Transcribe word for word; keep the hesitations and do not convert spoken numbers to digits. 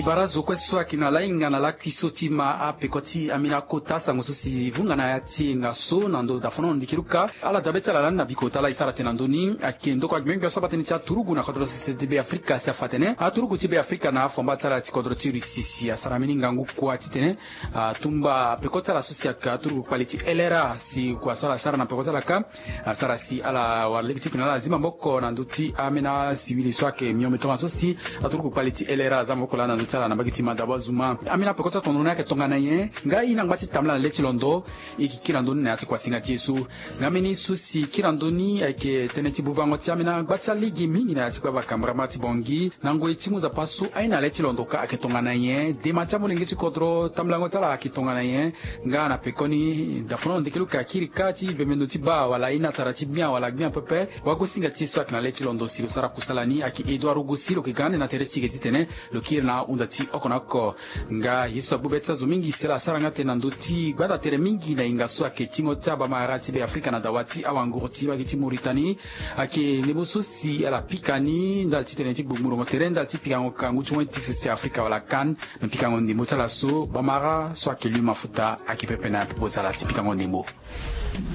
Bara zo kue so ayeke na lahinga na lakui so ti ma apeko ti ambeni akota sango so si vunga na ya ti enga so na ndo dafono ndiki luka ala dabe ti ala lani na bikota ala e sara tene na ndö ni ayeke ndoko agbengbia so aba tënë ti aturugu na kodro ti be afrika si afa atene aturugu ti be afrika na afamba ti ala ti kodro ti russie si asara mbeni ngangu kua titene atumba peko ti ala so si ayeke aturugu kpali ti lra si kua so ala sara na peko ti ala kâ asara si ala wara lege ti tene ala zi maboko na ndö ti ambeni asiwili so ayeke mio mitoma so si aturuku kpali ti lra aza maboko laa na ndö ti ala na mbage ti madabo azuma. Ambeni apeko ti atondo ni ayeke tongana nyen? Nga e na ngba ti tambala na le ti londo e yeke kiri na ndö ni na ya ti kuasinga ti e so. Nga mbeni so si kiri na ndö ni ayeke tënë ti bubango ti ambeni agba ti alege mingi na ya ti gbavaka mbarambara ti bongi na ngoi ti mu nzapa so aye na le ti londo kâ ayeke tongana nyen? Dema ti amolenge ti kodro tambolango ti ala ayeke tongana nyen? Nga na pekoni dafono ndeke lo yeke akiri kâ ti bembe ndo ti baa wala e na tara ti gbia wala gbia pepe. Wagosinga ti e so ayeke na le ti londo si lo sara kusala ni ayeke edouard rogo si lo yeke ga ande na tere ti e yeke titene lo kiri na ahunda ti oko na oko. Nga ye so agbu be ti azo mingi si ala sara nga tene na ndö ti gbanda tere mingi na hinga so ayeke tingo ti abamara ti be afrika na dawa ti awanguru ti mbage ti mauritanie. Ayeke ndembo so si ala pika ni ndali ti tene ti gbogborongo tere ndali ti pikango kangu ti wen ti sese ti afrika wala kan. Na pikango ndembo ti ala so bamara so ayeke lu mafuta ayeke pepe na ya popo ti ala ti pikango ndembo.